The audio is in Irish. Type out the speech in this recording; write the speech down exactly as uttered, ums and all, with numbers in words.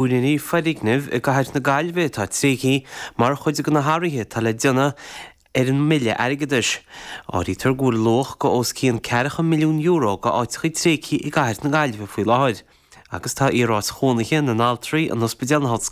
Úinéirí foirgnimh i gcathair na Gaillimhe atá tréigthe mar chuid de na hathruithe atá le déanamh ar an mbille airgeadais. Áirítear go bhfuil luach go os cionn ceathracha milliún euro go áiteacha tréigthe i gcathair na Gaillimhe faoi láthair. Agus tá iaráit chónaithe na n-altraí an Ospidéal na hOllscoile